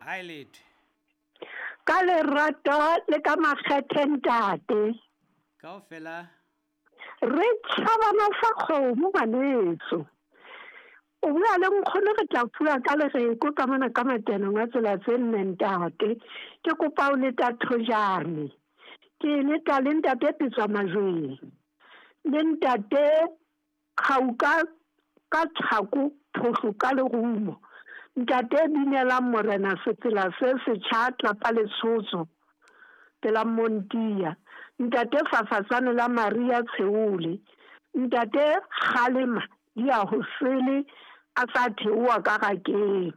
Ha e letho. Ka lerato le ka makgethe ntate. Kaofela. Re tjhabana sa kgomo ngwaneso. O bua le nkgono re tla fuwa ka lereko ka mona ka matenong a tsela tse nne ntate. Ke kopa o leta thojane. Ke leta le ntate Petswa Majweng. Le ntate Kgauka ka tlhako phohlo ka lerumo. Ntate binelang morena sefela se setjha tlapa letshotso pela Montia. Ntate Fafatsane la Maria Tsheole. Ntate Kgalema di ya ho sele a sa theoha ka rakeng.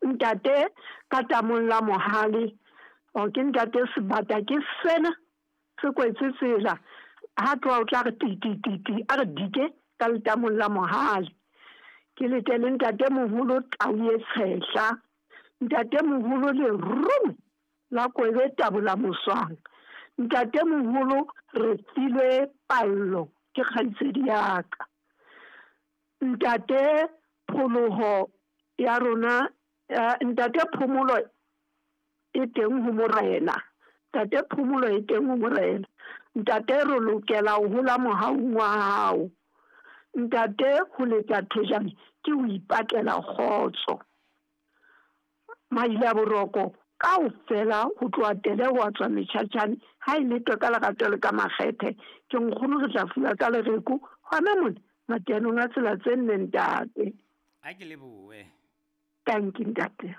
Ntate ka tamong la mohale. O ke ntate Sebata ke sena se kwetse tsela ha tloha o tla re ti ti ti ti a re dike ka letamong la mohale. Ke lete le ntate moholo tau e tshehla, ntate moholo lerumo la kwebe tabola moswang, ntate moholo re filwe pallo ke kgaitsedi ya ka, ntate pholoho ya rona, ntate phomolo e teng ho morena, ntate phomolo e teng ho morena, ntate re lokela ho hola mohaung wa hao, ntate ho letsa thojane ke ho ipatlela kgotso. Maile a boroko kaofela ho tloha tele ho tswa metjhatjhane ha e letwe ka lerato le ka makgethe ke nkgono re tla fuwa ka lereko hona mona matenong a tsela tse nne ntate. A ke lebohe. Tanki ntate.